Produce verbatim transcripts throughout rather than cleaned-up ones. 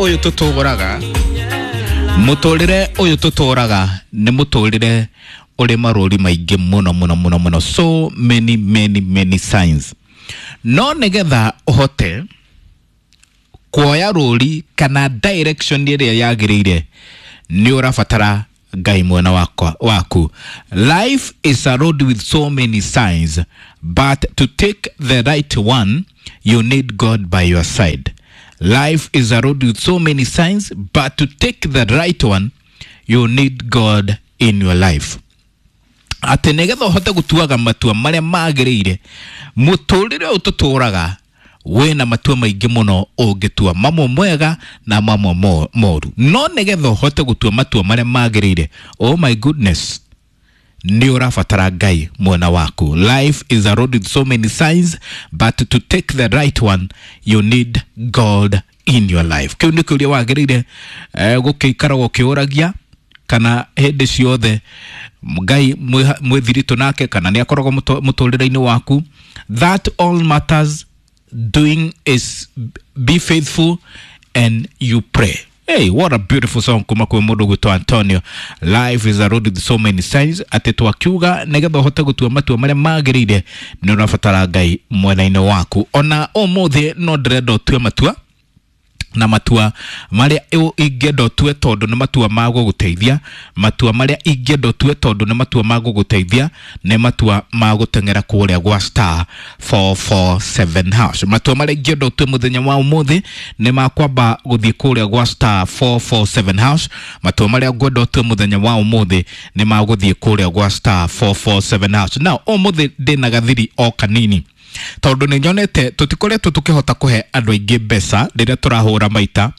Ũyũ tũtũraga, mũtũrĩre ũyũ tũtũraga nĩ mũtũrĩre ũrĩ marũri maingĩ mũno mũno mũno mũno, so many many many signs. No nĩgetha ũhote kuoya rũri kana direction ĩrĩa yagĩrĩire, nĩ ũrabatara Ngai mwena wakwa waku. Life is a road with so many signs, but to take the right one, you need God by your side. Life is a road with so many signs, but to take the right one, you need God in your life. Atĩ nĩgetha ũhote gũtuaga matua marĩa magĩrĩire, mũtũrĩre ũyũ tũtũraga wĩna matua maingĩ mũno ũngĩtua, mamwe mwega na mamwe mo- moru. No nĩgetha ũhote gũtua matua marĩa magĩrĩire, oh my goodness, nĩ ũrabatara Ngai mwena waku. Life is a road with so many signs, but to take the right one, you need God in your life. Kĩu nĩ kĩũria wagĩrĩire eh, gũkĩikara gũkĩũragia kana hĩndĩ ciothe Ngai mwĩ mwĩ thiritũ nake, kana nĩ akoragwo mũtũ- mũtũrĩre-inĩ waku. That all matters doing is be faithful and you pray. Hey, what a beautiful song kuma kwĩ mũndũ gwĩtwo Antonio. Life is a road with so many signs. Atĩ twakiuga nĩgetha ũhote gũtua matua marĩa magĩrĩire, nĩ ũrabatara Ngai mwena-inĩ waku. Ona ũmũthĩ no ndĩrenda ũtue matua, na matua marĩa ũ- ingĩenda ũtue tondũ nĩ matua ma gũgũteithia, matua marĩa ingĩenda ũtue tondũ nĩ matua ma gũgũteithia nĩ matua ma gũteng'era kũrĩa gwa star four four seven hash. Matua marĩa ingĩenda ũtue mũthenya wa ũmũthĩ nĩ ma kwamba gũthiĩ kũrĩa gwa star four four seven hash. Matua marĩa ngwenda ũtue mũthenya wa ũmũthĩ nĩ ma gũthiĩ kũrĩa gwa star four four seven hash. Now ũmũthĩ ndĩna gathiri o kanini tondũ nĩ nyonete tũtikoretwo tũkĩhota kũhe andũ aingĩ mbeca rĩrĩa tũrahũra maita.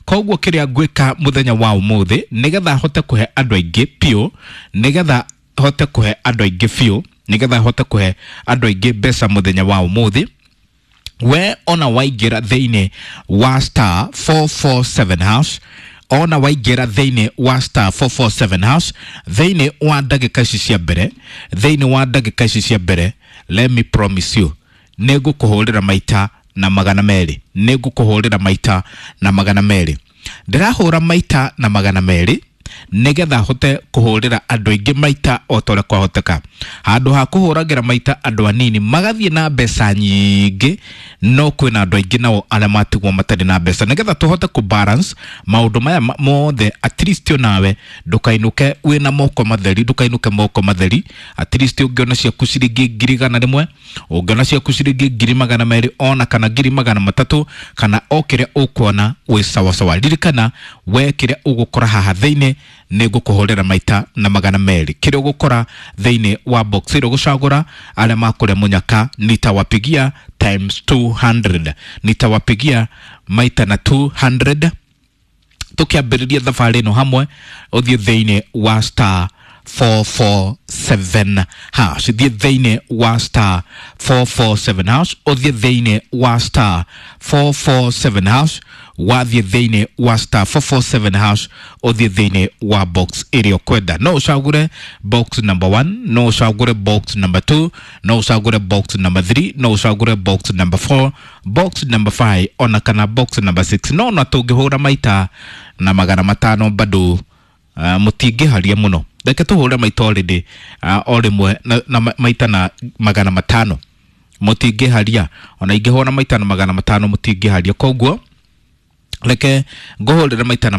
Koguo kĩrĩa ngwĩka mũthenya wa ũmũthĩ, nĩgetha hote kũhe andũ aingĩ biũ, nĩgetha hote kũhe andũ aingĩ biũ, nĩgetha hote kũhe andũ aingĩ mbeca mũthenya wa ũmũthĩ, we ona waingĩra thĩinĩ wa star four four seven hash, ona waingĩra thĩinĩ wa star four four seven hash thĩinĩ wa ndagĩka ici cia mbere, thĩinĩ wa ndagĩka ici cia mbere, let me promise you, nĩ ngũkũhũrĩra maita na magana merĩ. Nĩ ngũkũhũrĩra maita na magana merĩ. Ndĩrahũra maita na magana merĩ nĩgetha hote kũhũrĩra andũ aingĩ maita o ta ũrĩa kwahoteka, handũ ha kũhũragĩra maita andũ anini magathiĩ na mbeca nyingĩ, no kwĩna andũ aingĩ nao arĩa matigwo matarĩ na mbeca. Nĩgetha tũhote kũ balance maũndũ maya ma- mothe, at least onawe ndũkainũke wĩna moko matheri, ndũkainũke moko matheri. At least ũngĩona ciaku ciringi ngiri igana rĩmwe, ũngĩona ciaku ciringi ngiri magana merĩ, ona kana ngiri magana matatũ, kana o kĩrĩa ũkuona wĩ sawasawa. Ririkana we, kĩrĩa ũgũkora haha thĩinĩ nĩ ngũkũhũrĩra maita na magana merĩ. Kĩrĩa ũgũkora thĩinĩ wa box ĩrĩa ũgũcagũra, arĩa makũrĩa mũnyaka nitawapigia times two hundred, nitawapigia maita na two hundred. Tũkĩambĩrĩria thabarĩ ĩno hamwe, ũthiĩ thĩinĩ wa star four four seven hash, thiĩ thĩinĩ wa star four four seven hash, ũthiĩ thĩinĩ wa star four four seven hash. Wathiĩ thĩinĩ wa star four four seven hash, ũthiĩ thĩinĩ wa box ĩrĩa ũkwenda. No ũcagũre box number one, no ũcagũre box number two, no ũcagũre box number three, no ũcagũre box number four, box number five, ona kana box number six. No ona tũngĩhũra maita na magana matano bado uh, mũtingĩharia mũno. Reke tũhũre maita already uh, o rĩmwe na, na ma- maita na magana matano, mũtingĩharia. Ona ingĩhũra maita na magana matano mũtingĩharia. Koguo reke ngũhũrĩre maita na